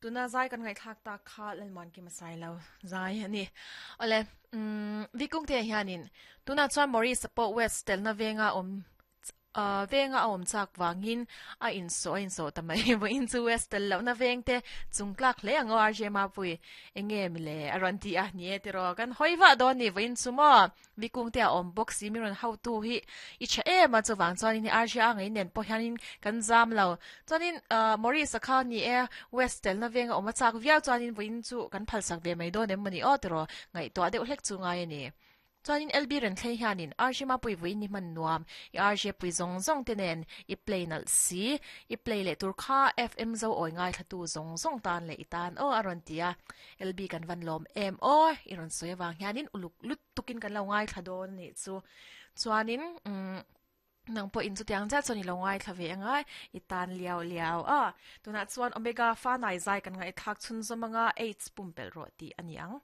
Tuna zai kan ngaihthlak tak kha Lalmuankima Sailo zai a ni. Awle, umm Vikungtea hianin tunah chuan Maurice-a pawh West telna venga awm Venga a awm chak vangin a insawh a insawh ta mai. Vawiin chu West tel lohna veng te chung tlak hle ang aw RJ Mapui. Enge mi le a rawn ti a, ni e tiraw kan hawi vah dawn ni vawiin chu maw Vikung te a awm bawk si mi rawn hautu hi i tha em a chuvang chuanin hei RJ a ngei nen pawh hianin kan zam lo. Chuanin Maurice-a kha ni e West telna venga awm a chak viau chuanin vawiin chu kan phalsak ve mai dawn em maw ni aw tiraw ngaihtuah deuh hlek chu ngai a ni. Chuanin LB Renthlei hianin RJ Mapui vui ni hman nuam, i RJ pui zawng zawng te nen i play nalh si, i play leh tur kha FM zo awi ngaithlatu zawng zawng tan leh i tan aw a rawn ti a, LB kan van lawm em aw i rawn sawi avang hianin uluk lut tukin kan lo ngaithla dawn anih chu. Chuanin umm nang pawhin chutiang chiah chuan i lo ngaithla ve anga i tan liau liau a. Tunah chuan Omega Fanai zai kan ngaihthlak chhunzawm anga AIDS pumpelh rawh tih a ni ang.